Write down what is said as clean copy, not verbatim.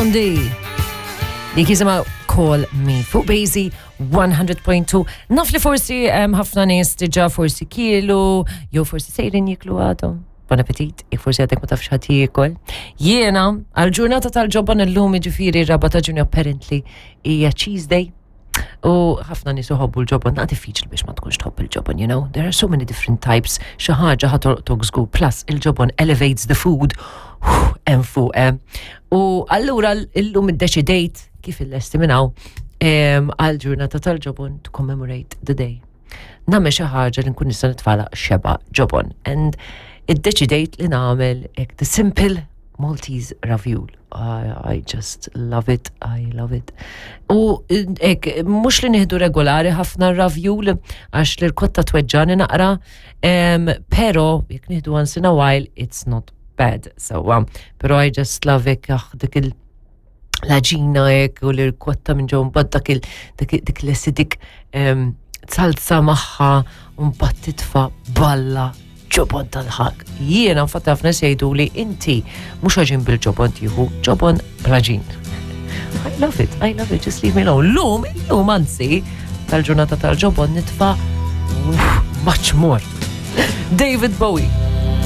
Blondie. Dik jisimha Call Me fuq Basie 100.2. Naf li forsi ħafna nies diġà forsi kielu, jew forsi sejrin jiklu għadhom. Bon appetit, jekk forsi għadek ma tafx ħadd jiekol. Jiena għal-ġurnata tal-ġobon illum jiġifieri raba ta' Ġunju apparently hija Cheese Day. U ħafna nies iħobbu l-ġobon, naqra diffiċli biex ma tkunx tħobb il-ġobon, you know? There are so many different types. Xi ħaġa ħa tolqtok żgur, plus il-ġobon elevates the food hemm fuq. Eh. U allura illum iddeċidejt kif illesti minn hawn għal ġurnata tal-ġobon to commemorate the day. Nagħmel xi ħaġa li nkun nista' nitfala xeba ġobon. And iddeċidejt li nagħmel hekk the simple Maltese raviol. I, I just love it, I love it. U ek, mux li nieħdu regolari ħafna ravjul, għax l-irkotta tweġġani naqra, um, pero jekk nieħdu once in a while, it's not bad. So, um, pero I just love it, ah, dik il- l-aġina hekk u l-irkotta minn ġew mbagħad dak il dik l-acidic salsa magħha u mbagħad titfa' balla ġobon tal-ħak. Jiena infatti ħafna jgħidu li inti mhux għaġin bil-ġobon tieħu ġobon bl-għaġin. I love it, I love it, just leave me alone. Lum, lum anzi, tal-ġurnata tal-ġobon nitfa' much more. David Bowie.